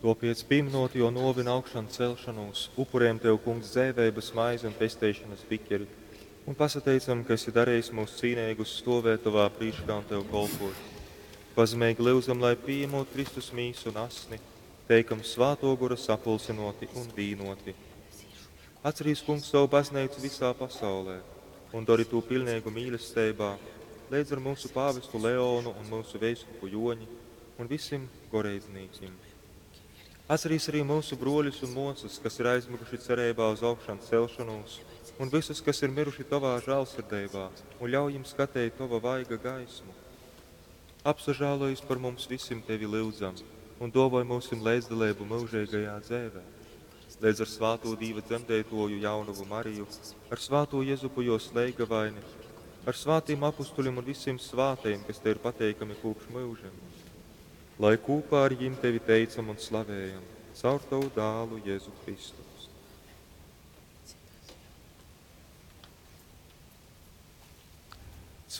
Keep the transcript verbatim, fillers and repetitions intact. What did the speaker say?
Tōpēc, pīminot jō nōvi un augšancelšanūs, upurējam Tev, Kungs, dzeiveibas maizi un pesteišonas bikeri, un pasateicam, ka esi darījis mūs cīneigus stovēt Tovā prīškā un Tev kolpot. Pazemeigi lyudzam, lai pīejamot Kristus mīsu un asni, teikam Svātō Gora sapulcynōti un vīnoti. Atcerīs, Kungs, savu baznīcu visā pasaulē un dori tū pilnīgu mīlestībā, leidz ar mūsu pāvestu Leonu un mūsu veiskupu Joņi un visim goreidznīkim. Atcerīs arī mūsu broļus un māsas, kas ir aizmiguši cerībā uz augšām celšanos, un visus, kas ir miruši Tavā žēlsirdībā, un ļauj viņiem skatīt Tava vaiga gaismu. Apsažālojies par mums visiem Tevi lūdzam, un dāvāj mūsim līdzdalību mūžīgajā dzīvē. Līdz ar svāto Dīva dzemdētoju jaunavu Mariju, ar svāto Jezupu jo sleigavaini, ar svātiem apustuļiem un visiem svātajiem, kas Tev ir pateikami kopš mūžiem. Lai kopā ar viņiem Tevi teicam un slavējam, caur Tavu dālu Jēzu Kristu.